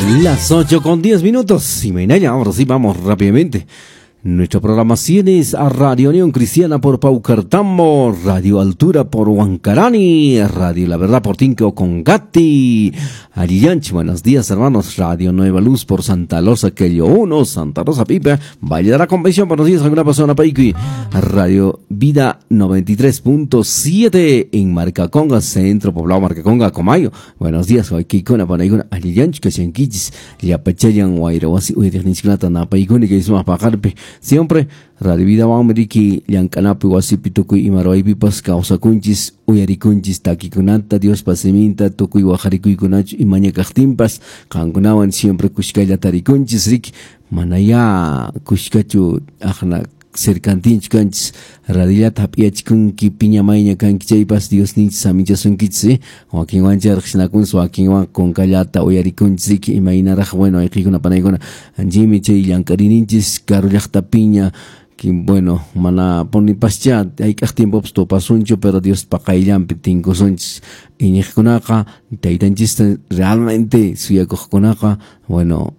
Las 8:10. Y mañana, ahora sí vamos rápidamente. Nuestra programación es a Radio Unión Cristiana por Paucartambo, Radio Altura por Huancarani, Radio La Verdad por Tinco Congati, Ariyanchi, buenos días hermanos, Radio Nueva Luz por Santa Rosa Quello 1, Santa Rosa Pipa, Valle de la Convención, buenos días, alguna persona Paiqui, Radio Vida 93.7 en Marcaconga, Centro Poblado Marcaconga, Comayo, buenos días, Huayquicona, Panaiguna, Ariyanchi, Kashanquichis, Yapachayan, Guairahuasi, Uyriqninchiknata, Napaykuni, kay sumaq paqarpi. Siempre Radio Vida Riki llank'anapi wasipi tukuy ima ruwaypipas kawsakunchis uyarikunchis takikunata Diospa siminta tukuy waqarikuykunachu imaña kaqtinpas qankunawan siempre kushkalla tarikunchis riki manayá kushkachu aqna cercantinchu kanchis radillata hap'iyachikunki piña mayña kanki chaypas Diosninchis samichasunkichis wakinwancha riqsinakunchis wakinwan kunkallata uyarikunchis riki imaynaraq bueno ayqikuna panaykuna anchimi chay llank'arininchis karu llaqtapiña bueno mana ponipaschá hayk'aq tiempopas tupasunchu pero Diospa qayllanpi tinkusunchis iñiqkunaqa taytanchista realmente suyakuqkunaqa bueno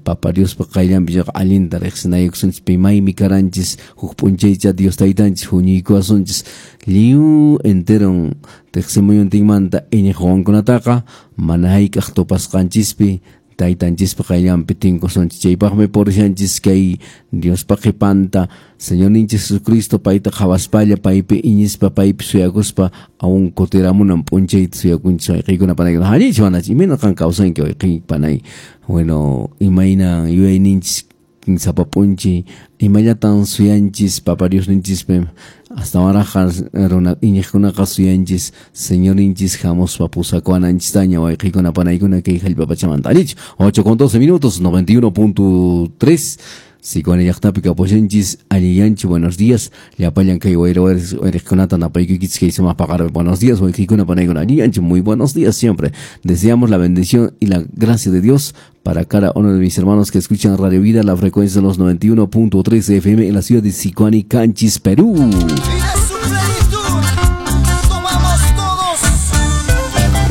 Papa Diospa qayllanpi chaqa allinta riqsinaykusunchis pimaymi karanchis huk p'unchaycha Dios taytanchis huñuykuwasunchis lliw enteron tiqsimuyuntinmanta iñiq wawankunataqa mana hayk'aq tupasqanchispi taytanchispa qayllanpi tinkusunchis chaypaqmi purishanchis kay Diospa qhipanta Señorninchis Jesucristo payta qhawaspalla paypi iñispa paypi suyakuspa aún kutiramunan p'unchayta suyakunchis wayqiykuna panaykuna allinchu manachu imayna qan kawsanki wayqiy panay bueno imayna yuyayninchis sapa p'unchay imallatan suyanchis Papa Diosninchispi astawanraqqa runa iñiqkunaqa suyanchis Señorninchis hamuspa pusakuwananchistaña wayqiykuna panaykuna kay hallp'a pachamanta allinchu 8:12 91.3 Sicuani llaqtapi kapushanchis allillanchu buenos días llapallan kay wayra wayriqkunata napaykuykichis kay sumaq paqarpi buenos días wayqiykuna panaykuna allillanchu muy buenos días siempre deseamos la bendición y la gracia de Dios para cada uno de mis hermanos que escuchan Radio Vida, la frecuencia de los 91.3 FM en la ciudad de Sicuani, Canchis, Perú.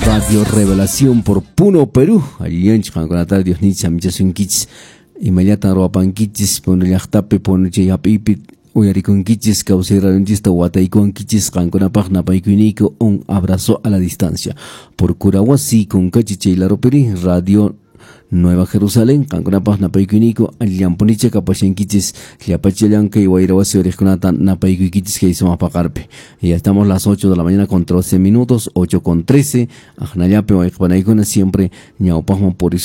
Radio Revelación por Puno, Perú. Allillanchu qankunata Dios nicha michasunkichis imallatan ruwapankichis Puno llaqtapi Puno chay hap'iypi uyarikunkichis kawsay radionchista wataykuwankichis qankunapaq napaykuyniku un abrazo a la distancia por Curahuasi Kunkachi chay laropiri Radio Nueva Jerusalén qankunapaq napaykuyniku allinpunicha kapashankichis llapachallan kay wayrawasi uriqkunata napaykuykichis kay sumaq paqarpi. Y ya estamos las 8 de la mañana con 13 minutos, 8:13, aqnallapi wayqipanaykuna siempre ñawpaqman purisun.